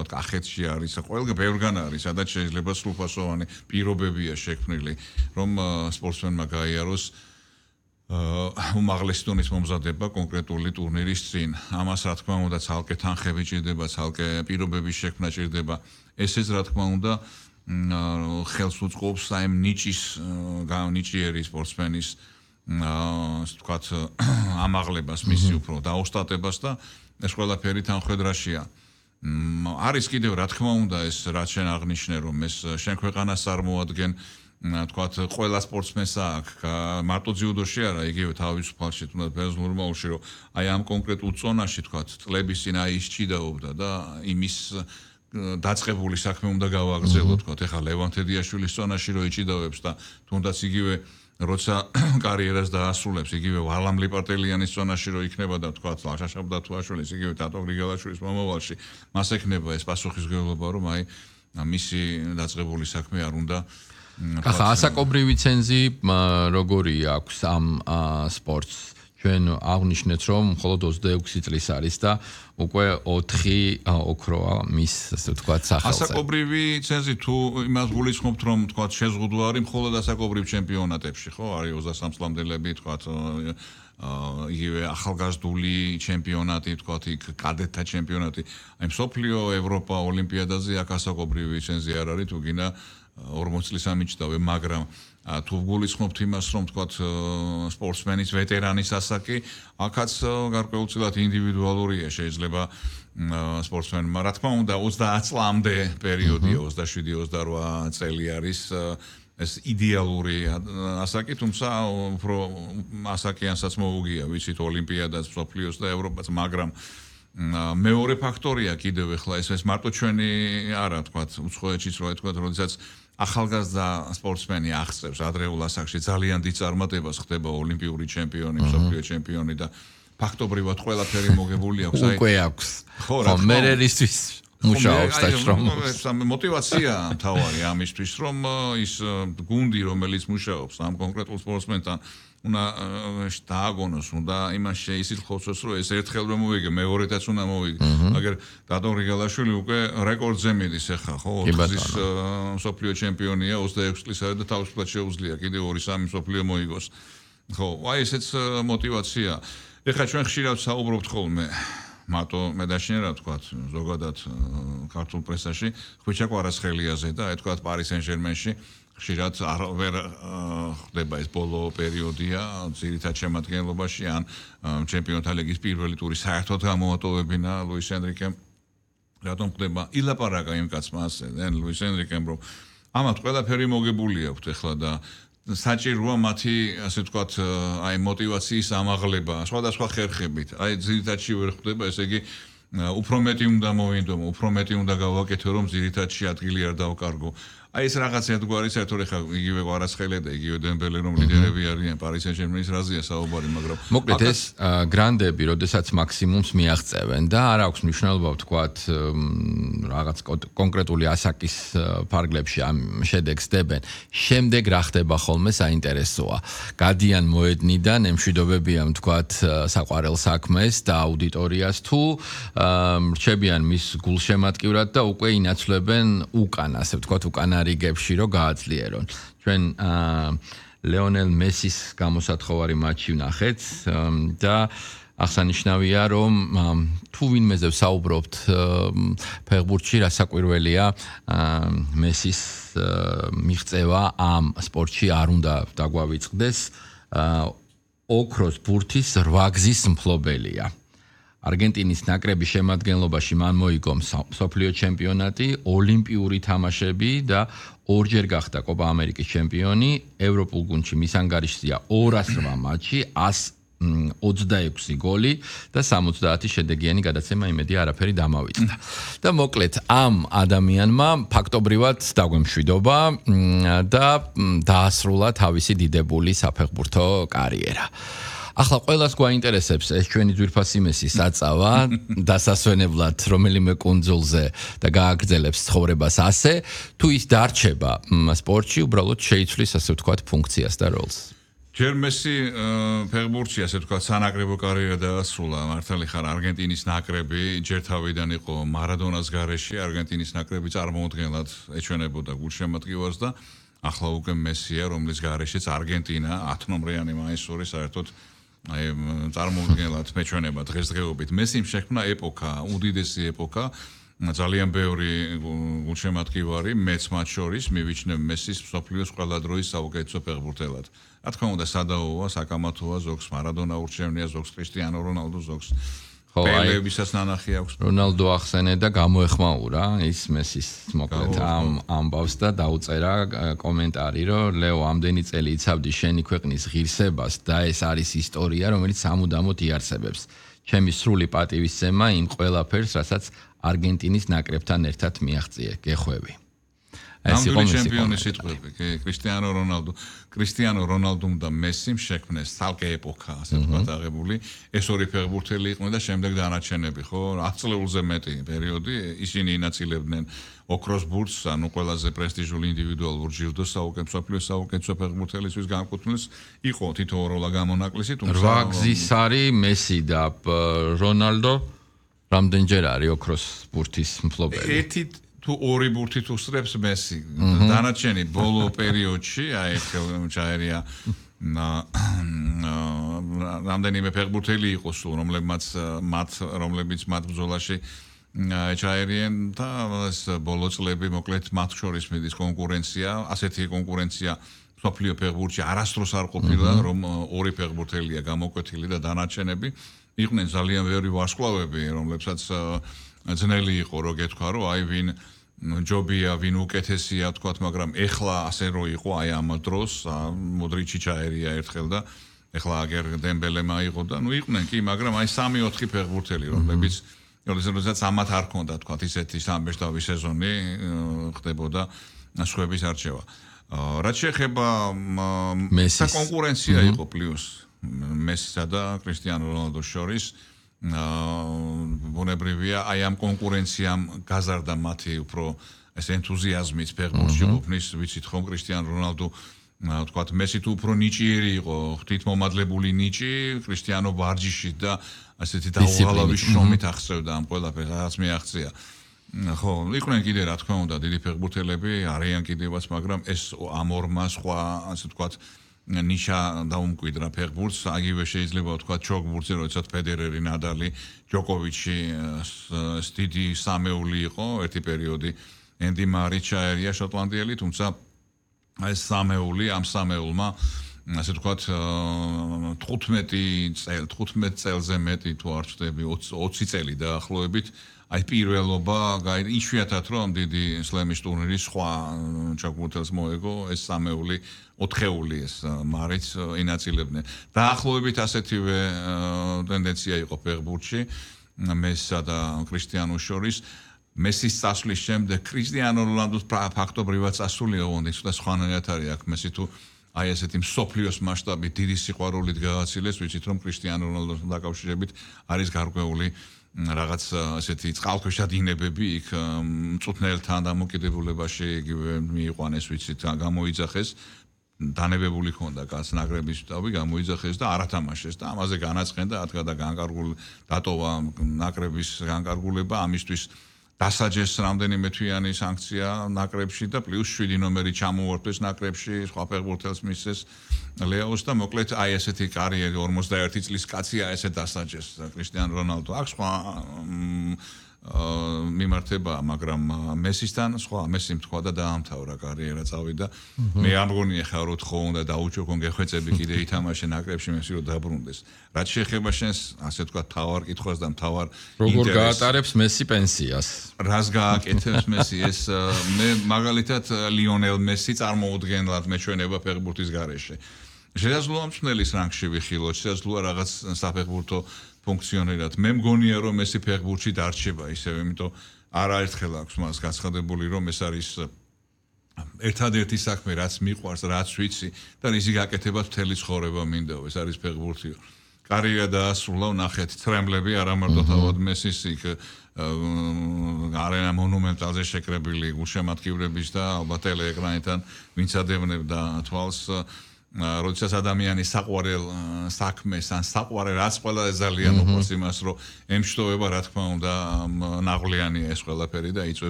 თქვა, კახეთში არის, ყველგან ბევრგან არის, სადაც შეიძლება სრულფასოვანი პირობებია შექმნილი, რომ სპორტსმენმა გაიაროს უმაღლესი დონის მომზადება კონკრეტული ტურნირის წინ. ამას რა თქმა უნდა, ცალკე თანხები ჭირდება, ცალკე პირობების შექმნა ჭირდება. ესეც რა თქმა უნდა ხელს უწყობს ამ ნიჭიერი სპორტსმენის ასე ვთქვათ, ამაღლებას, მისი უფრო დაოსტატებას და ეს ყველაფერი თანხმედრაშია. არის კიდევ რა თქმა უნდა ეს რაც შენ აღნიშნე, რომ ეს შენ ქვეყანას წარმოადგენ, თქვათ, ყველა სპორტსმენს აქვს, მარტო ძიუდოში არა, იგივე თავისუფალში, თუნდაც ბერძნულში, რომ აი ამ კონკრეტულ ზონაში, თქვათ, წლების წინ აი ის ჭიდაობდა და იმის დაწყებული საქმე უნდა გავაგრძელო, თქვათ, ეხლა ლევან თედიაშვილის ზონაში რო იჭიდავებს და თუნდაც იგივე როცა კარიერას დაასრულებს, იგივე ვალამ ლიპარტელიანის ზონაში რო იქნება და თქვათ, შაშაბ დათუაშვილის, იგივე დატო გრიგალაშვილის მომავალში, მას ექნება ეს პასუხისმგებლობა, რომ აი მისი დაწყებული საქმე არ უნდა ახლა ასაკობრივი ცენზი როგორი აქვს ამ სპორტს? ჩვენ აღნიშნეთ, რომ მხოლოდ 26 წლის არის და უკვე 4 ოქროა მის, ასე ვთქვათ, სახელზე. ასაკობრივი ცენზი თუ იმას გულისხმობთ, რომ თქვათ, შეზღუდვა არის მხოლოდ ასაკობრივ ჩემპიონატებში, ხო? არის 23 წლამდელები, თქვათ, იგივე ახალგაზრდული ჩემპიონატი, თქვათ, იქ კადეტთა ჩემპიონატი. აი მსოფლიო, ევროპა, ოლიმპიადაზე აქ ასაკობრივი ცენზი არ არის, თუ გინდა 40 წლის ამიჭდავე, მაგრამ თუ გულისხმობთ იმას, რომ თქვათ სპორტსმენის ვეტერანის ასაკი, აქაც გარკვეულწილად ინდივიდუალურია, შეიძლება სპორტსმენმა, რა თქმა უნდა, 30 წლამდე პერიოდია, 27-28 წელი არის ეს идеალური ასაკი, თუმცა უფრო ასაკიანსაც მოუგია, ვიცით, ოლიმპიადას, მსოფლიოს და ევროპას, მაგრამ მეორე ფაქტორია კიდევ ახლა ეს მარტო ჩვენი არა, თქვათ, უცხოეთშიც რო თქვათ, როდესაც ახალგაზრდა სპორტსმენი აღწევს ადრეულ ასაკში ძალიან დიდ წარმატებას ხდება ოლიმპიური ჩემპიონი, მსოფლიო ჩემპიონი და ფაქტობრივად ყველაფერი მოგებული აქვს. უკვე აქვს. ხო, მერერისთვის მუშაობს და შრომობს. მოტივაცია თავარი ამისთვის, რომ ის გუნდი, რომელიც მუშაობს ამ კონკრეტულ სპორტსმენთან, უნდა დააგონოს, უნდა იმას შეისწავლოს, რომ ეს ერთხელ რომ მოვიგე, მეორედაც უნდა მოვიგე. მაგრამ დატო გრიგალაშვილი უკვე რეკორდზე მიდის ახლა, ხო? 4 წლის მსოფლიო ჩემპიონია, 26 წლისა და თავისუფლად შეუძლია კიდევ 2-3 მსოფლიო მოიგოს. ხო, აი ესეც მოტივაცია. ეხლა ჩვენ ხშირად საუბრობთ ხოლმე მარტო მე დაშინერა თქვათ ზოგადად ქართულ პრესაში ხვიჩა კვარაცხელიაზე და აი თქვათ პარი სენ-ჟერმენში ხშირად ვერ ხდება ეს ბოლო პერიოდია ძირითად შემადგენლობაში ან ჩემპიონთა ლიგის პირველი ტური საერთოდ გამოატოვებინა ლუის ენრიკემ რატომ ხდება ილაპარაკა იმ კაცმა ასე ლუის ენრიკემ რომ ამათ ყველაფერი მოგებული აქვს ეხლა და საჭიროა მათი ასე ვთქვათ აი мотиваციის ამაღლება სხვადასხვა ხერხებით აი ძირითადში ვერ ხდება ესე იგი უფრო მეტი უნდა მოვინდომო უფრო მეტი უნდა გავაკეთო რომ ძირითადში ადგილი არ დავკარგო აი ეს რაღაცა თქვარი საერთოდ ეხა იგივე კვარაცხელია და იგივე დემბელე რომ ლიდერები არიან პარი სენ-ჟერმენის რაზეა საუბარი მაგრამ მოკლედ ეს გრანდები როდესაც მაქსიმუმს მიაღწევენ და არ აქვს მნიშვნელობა ვთქვათ რაღაც კონკრეტული ასაკის ფარგლებში ამ შედეგს დებენ შემდეგ რა ხდება ხოლმე საინტერესოა გადიან მოედნიდან ემშვიდობებიან ვთქვათ საყვარელ საქმეს და აუდიტორიას თუ რჩებიან მის გულშემატკივრად და უკვე ინაცვლებენ უკან ასე ვთქვათ უკან რიგებში რო გააძლიერონ. ჩვენ ლეონელ მესის გამოსათხოვარი მატჩი ვნახეთ და აღსანიშნავია რომ თუ ვინმეზე ვსაუბრობთ ფეხბურთში რასაკვირველია მესის მიღწევა ამ სპორტში არ უნდა დაგვავიწყდეს ოქროს ბურთის 8 გზის მფლობელია. არგენტინის ნაკრების შემადგენლობაში მან მოიგო მსოფლიო ჩემპიონატი, ოლიმპიური თამაშები და ორჯერ გახდა კოპა ამერიკის ჩემპიონი, ევროპულ გუნდში მის ანგარიშზეა 208 მატჩი, 126 გოლი და 70 შედეგიანი გადაცემა იმედი არაფერი დამავიწყდა. და მოკლედ ამ ადამიანმა ფაქტობრივად დაგვემშვიდობა და დაასრულა თავისი დიდებული საფეხბურთო კარიერა. ახლა ყველას გვაინტერესებს ეს ჩვენი ძვირფასი მესი საწავა დასასვენებლად რომელიმე კუნძულზე და გააგრძელებს ცხოვრებას ასე თუ ის დარჩება სპორტში უბრალოდ შეიცვლის ასე ვთქვათ ფუნქციას და როლს ჯერ მესი ფეხბურთში ასე თქვა სანაკრებო კარიერა დაასრულა მართალი ხარ არგენტინის ნაკრები ჯერ თავიდან იყო მარადონას გარეშე არგენტინის ნაკრები წარმოუდგენლად ეჩვენებოდა გულშემატკივარს და ახლა უკვე მესია რომლის გარეშეც არგენტინა 10 ნომრიანი მაისური საერთოდ აი წარმოუდგენლად მეჩვენება დღესდღეობით მესიმ შექმნა ეპოქა უდიდესი ეპოქა ძალიან ბევრი გულშემატკივარი მეც მათ შორის მივიჩნევ მესის მსოფლიოს ყველა დროის საუკეთესო ფეხბურთელად. რა თქმა უნდა, სადაოა, საკამათოა, ზოგს მარადონა ურჩევნია, ზოგს კრისტიანო რონალდო, ზოგს პელეებისაც ნანახი აქვს. რონალდო ახსენე და გამოეხმაურა ის მესის მოკლედ ამ ამბავს და დაუწერა კომენტარი, რომ ლეო ამდენი წელი იცავდი შენი ქვეყნის ღირსებას და ეს არის ისტორია, რომელიც სამუდამოდ იარსებებს. ჩემი სრული პატივისცემა იმ ყველაფერს, რასაც არგენტინის ნაკრებთან ერთად მიაღწიე. გეხვევი. ეს იყო ჩემპიონი სიტყვები, კრისტიანო რონალდომ და მესიმ შექმნეს თალკე ეპოქა, ასე ვთქვათ, აღებული. ეს ორი ფეხბურთელი იყვნენ და შემდეგ დანარჩენები, ხო, 10 წლეულზე მეტი პერიოდი ისინი ინაცილებდნენ ოქროს ბურთს, ანუ ყველაზე პრესტიჟული ინდივიდუალურ ჯილდოს მსოფლიოს საუკეთესო ფეხბურთელისთვის განკუთვნილს. იყო თითო როლა გამონაკლისი, თუმცა 8 გზის არის მესი და რონალდო რამდენჯერ არის ოქროს ბურთის მფლობელი? ერთი თუ ორი ბურთით უსწრებს მესი. დანარჩენი ბოლო პერიოდში, აი ჩაერია რამდენიმე ფეხბურთელი იყო სულ, რომლებიც მათ ბრძოლაში ჩაერიან და ეს ბოლო წლები მოკლედ მათ შორის მიდის კონკურენცია, ასეთი კონკურენცია მსოფლიო ფეხბურთში არასდროს არ ყოფილა, რომ ორი ფეხბურთელია გამოკვეთილი და დანარჩენები იყვნენ ძალიან ბევრი ვარსკვლავები, რომლებსაც ძნელი იყო რო გეთქვა, რომ აი ვინ ჯობია, ვინ უკეთესია, თქვათ, მაგრამ ეხლა ასე რო იყო, აი ამ დროს მოდრიჩი ჩაერია ერთხელ და ეხლა აგერ დემბელე მაიღო და ნუ იყვნენ კი, მაგრამ აი 3-4 ფეხბურთელი, რომლებიც როდესაც ამათ არ ქონდა, თქვათ, ისეთი სამბეჭდავი სეზონი ხდებოდა სხვების არჩევა. რაც შეეხება მესის კონკურენცია იყო პლუს მესისა და კრისტიანო რონალდოს შორის ბუნებრივია აი ამ კონკურენციამ გაზარდა მათი უფრო ეს ენთუზიაზმით ფეხბურთში ყოფნის ვიცით ხომ კრისტიანო რონალდო თქვათ მესი თუ უფრო ნიჭიერი იყო ღვთითმომადლებული ნიჭი კრისტიანო ვარჯიში და ასეთი დაუღალავი შრომით აღწევდა ამ ყველაფერს რაც მიაღწია ხო იყვნენ კიდე რა თქმა უნდა დიდი ფეხბურთელები არიან კიდევაც მაგრამ ეს ამ ორმა სხვა ასე თქვათ ნიშა დაუმკვიდრა ფეხბურთს აგივე შეიძლება ვთქვათ ჩოგბურთზე როდესაც ფედერერი ნადალი ჯოკოვიჩი დიდი სამეული იყო ერთი პერიოდი ენდი მარი ჩაერია შოტლანდიელი თუმცა ეს სამეული ამ სამეულმა ასე ვთქვათ 15 წელზე მეტი თუ არ ვწდები 20 წელი დაახლოებით აი პირველობა იშვიათად რომ დიდი სლემის ტურნირის სხვა ჩოგბურთელს მოეგო ეს სამეული ოთხეული ეს მარიც ინაცილებდნენ დაახლოებით ასეთივე ტენდენცია იყო ფეხბურთში მესსა და კრისტიანოს შორის მესის წასვლის შემდეგ კრისტიანო რონალდოს ფაქტობრივად წასულია ონის და სხვანაირად არის აქ მესი თუ აი ესეთი მსოფლიოს მასშტაბით დიდი სიყვარულით გააცილეს ვიცით რომ კრისტიანო რონალდოსთან დაკავშირებით არის გარკვეული რაღაც ასეთი წყალქვეშა დინებები იქ მწუთნელთან დამოკიდებულებაში იგივე მიიყვანეს ვიცით გამოიძახეს დანებებული ქონდა კაც ნაკრების შტაბი გამოიძახეს და არათამაშეს და ამაზე განაცხენდა ათქა და განკარგული დატოვა ნაკრების განკარგულება ამისთვის დასაჯეს რამდენიმე თვიანი სანქცია ნაკრებში და პლუს 7 ნომერი ჩამოუართვეს ნაკრებში სხვა ფეხბურთელს მისცეს ლეოს და მოკლედ აი ესეთი კარიერი 51 წლის კაცია ესე დასაჯეს კრისტიანო რონალდო აქ სხვა მიმართება მაგრამ მესისთან სხვა მესიმ თქვა და დაამთავრა კარიერა წავიდა მე ამგონია ხარ რომ ხო უნდა დაუჩოქონ გეხვეწები კიდე ითამაშე ნაკრებში მესი რომ დაბრუნდეს რაც შეეხება შენს ასე თქვა თავარ კითხვას და თავარ როგორ გაატარებს მესი პენსიას რას გააკეთებს მესი ეს მე მაგალითად ლიონელ მესი წარმოუდგენლად მეჩვენება ფეხბურთის გარეშე შესაძლოა მწვრთნელის რანგში ვიხილოთ შესაძლოა რაღაც საფეხბურთო ფუნქციონერად მე მგონია რომ მესი ფეხბურთში დარჩება ისევ იმიტომ არაერთხელ აქვს მას გაცხადებული რომ ეს არის ერთადერთი საქმე რაც მიყვარს რაც ვიცი და ისი გაკეთება მთელი ცხოვრება მინდაო ეს არის ფეხბურთი კარიერა დაასრულა ნახეთ ტრემლები არა მარტო თავად მესის იქ არენა მონუმენტალზე შეკრებილი გულშემატკივრების და ალბათ ტელეეკრანიდან ვინც ადევნებდა თვალს როდესაც ადამიანი საყვარელ საქმეს ან საყვარელ რაც ყველაზე ძალიან უყვარს იმას, რომ ემშვიდობა რა თქმა უნდა ნაღვლიანია ეს ყველაფერი და იწვევს